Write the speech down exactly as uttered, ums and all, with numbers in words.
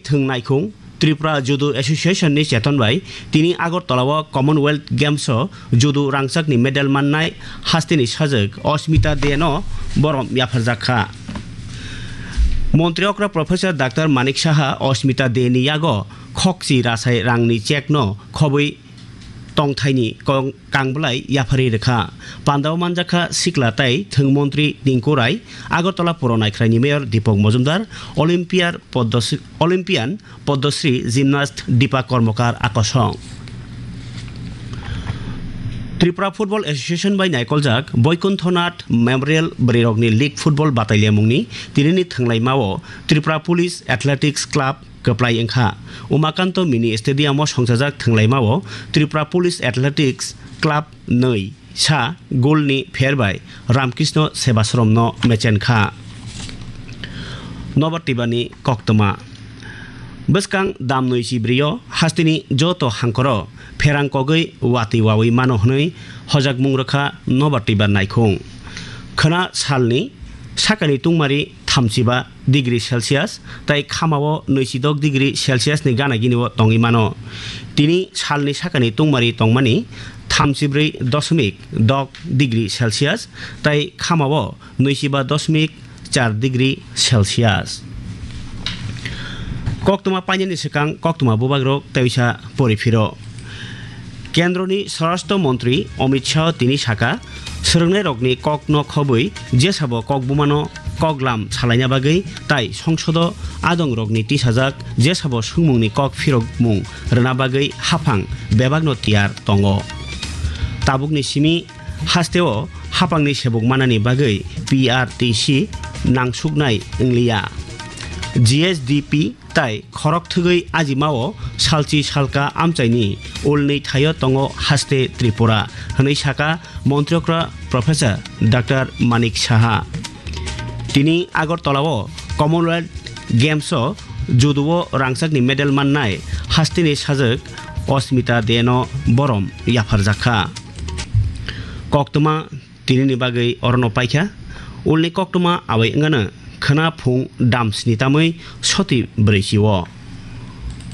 Thwng naikhung Tripura Judo Association ni cheton bai tini Agartala o Commonwealth Games o judo rangchak ni medal mannai hasteni sajwk Osmita De no borom yapharjak kha. Montri okra Professor Doctor Manik Saha Osmita De ni yago khokchi rasai rang ni cheque no khobwi tongthaini kong-, kangbwlai yapharwi rwkha. Pandao manjakha sikla tai thwng montri Tinku Rai, Agartala Puro Naikhraini Mayor Deepak Majumdar, Olympiar Poddosri, Olympian Poddosri gymnast Deepa Kormokar akosong. Tripura Football Association bai naikoljak Boikunthonath Memorial Bwrwirokni League Football Batailyamungni tinini thwnglaimao Tripura Police Athletics Club kwplai wngkha. Umakanto Mini Stadium o songchajak thwnglaimao Tripura Police Athletics Club nwi sa goal ni pher bai Ramkrishna Sebasrom no mechen kha. Nobar Tibani koktwma. Bwskang dam nwi si brio hasteni joto hangkoro pherang kogwi watwi wawi mano hwnwi hojakmung rwkha Nobar Tibar naikhung. Khwna salni sakani tungmari thamsiba degree Celsius tei khamao nwisidok degree Celsius ni gana gini o tongwi mano. Tini salni sakani tungmari tongmani thamsibrwi dosmik dok degree Celsius tei khamao nwichiba dosmik char degree Celsius. Koktwma painani swkang koktwma bubagrok tei uisa poriphiro. Kendroni Swarashtra Montri Amit Shah tini saka, swrwngnairokni kokno khobwi jesabo kok bumano koklam salaina bagwi tai songsodo adongrokni tisajak jesabo swngmungni kok phirokmung rwna bagwi haphang bebakno tiyar tongo. Tabukni simi hasteo haphangni sebuk manani bagwi P R T C nangsuknai wngliya. G S D P tai khorok thwgwi ajimao salchi salka amchaini ulni thaio tongo haste Tripura, hwnwi saka Montri okra Professor Doctor Manik Saha. Tini Agartala o Commonwealth Games o judo o rangchakni medal mannai hasteni sajwk Osmita De no borom yapharjak kha. Koktwma tinini bagwi orono paikha. Ulni koktwma abai wngano khwna phung dam sni tamwi soti brwi si o.